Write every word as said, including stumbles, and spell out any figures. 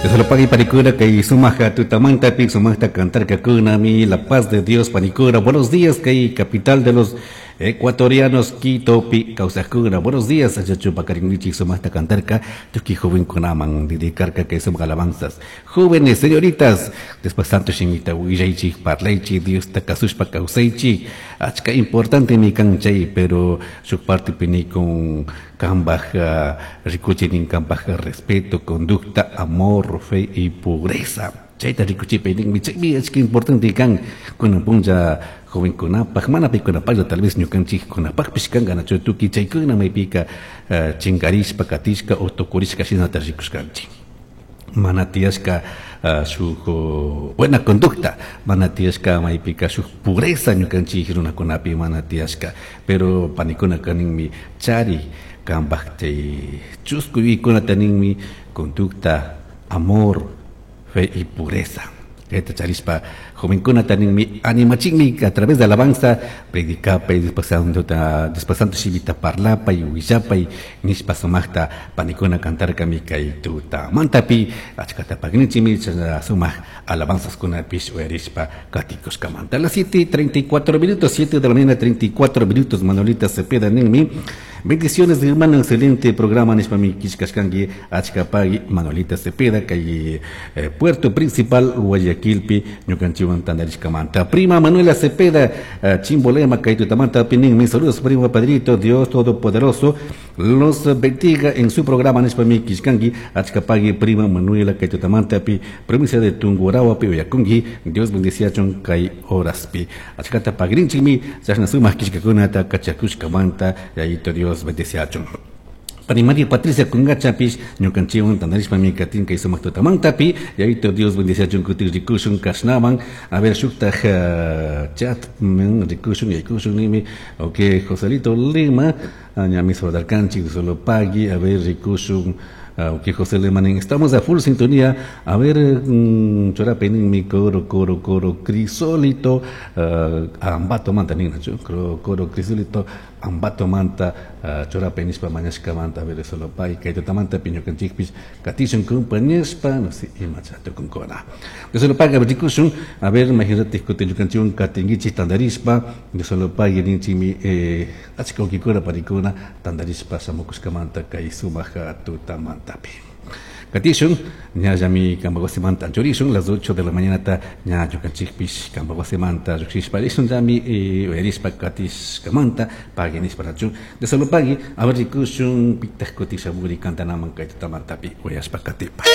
Dios panikuna kay sumaja tutamantapi sumajta cantarkakunami la paz de Dios panikuna. Buenos días kay capital de los ecuatorianos Quitopi kawsajkuna. Buenos días achachu pakarinwichik sumajta cantarka tukuy jovenkunaman dedicarka kay sumaq alabanzas. Jóvenes, señoritas, después santo shimita willaychik parlaychik Diosta kasushpa kawsaychik. Achka importante mi kan chay, pero shuk partepi nikun kambaj rikuchinin kambaj respeto, conducta, amor, fe y pureza. Chayta rikuchipay ninmi chaymi achka importante kan kunan punlla jovenkunapaj mana paykunapajlla tal vez ñukanchikkunapajpish kanka nachu tukuy chaykuna maypika chinkarishpa katishka o tukurishka shinata rikushkanchik. Mana tiyashka shuk buena conducta, mana tiyashka maypika shuk pureza ñukanchik runakunapi mana tiyashka, pero panikunaka ninmi chari kambaj chay chusku yuyaykunata ninmi conducta, amor, fe y pureza. Kayta charishpa jovenkunata ninmi animachinmi a través de alabanza predicapay después santo shimita parlapay willapay nishpa sumajta panikuna cantarkami kay tutamantapi achkata pagninchimi sumaq alabanzaskunapish uyarishpa katikushkamanta. A las siete treinta y cuatro minutos, siete de la mañana treinta y cuatro minutos, Manuelita Cepeda ninmi bendiciones hermano, excelente programa nishpami kishkashkanki achkapagui Manuelita Cepeda kay eh, Puerto Principal Guayaquilpi ñukanchikwan tandarishkamanta. Prima Manuela Cepeda uh, Chimbolema kay tutamanta ninmi saludos primo padrito, Dios todopoderoso los bendiga en su programa nishpami kishkanki achkapagui prima Manuela kay tutamantapi provincia de Tungurahua uyakunki Dios bendiciachun kay horaspi achkata pagrinchikmi chashna sumaq kishkakunata kachakushkamanta yayito Dios bendiciachun. Pani María Patricia Kungachapish ñukanchikwan tandarishpami katin kay sumaq tutamantapi yayito Dios bendiciachun kutin rikushun kashnaman. A ver shuktaj uh, chat men rikushun yaykushun nimi ok Joselito Lima ñami saludarkanchik solo pagui a ver rikushun. Ok, José Lemanín, estamos a full sintonía. A ver, mm, churape mi coro, coro, coro, crisólito, uh, ambato manta, nina, coro, coro, crisólito, ambato manta, uh, churape nishpa mañashka manta, a ver, solo pai, kaito manta, piño canchikpis, katishun kumpañashpa, no sé, imachato con cona. De solo paga, rikushun, a ver, imagínate, kutinchukanchun, katingichi, tandarishpa, de solo pagui, ninchimi, eh, achka ukikura, parikuna, tandarishpa, samukushkamanta, kay sumaja, tutamanta. Katishun, ñallami kambawasimanta anchurishun, las ocho de la mañana ta ña ñukanchikpish kambawasimanta lluqshishpa rishun llami uyarishpa katishkamanta pagui nishpa rachun de solo pagui a ver rikushun pitaq kutishamuri kantanaman kay tutamantapi uyashpa katipa.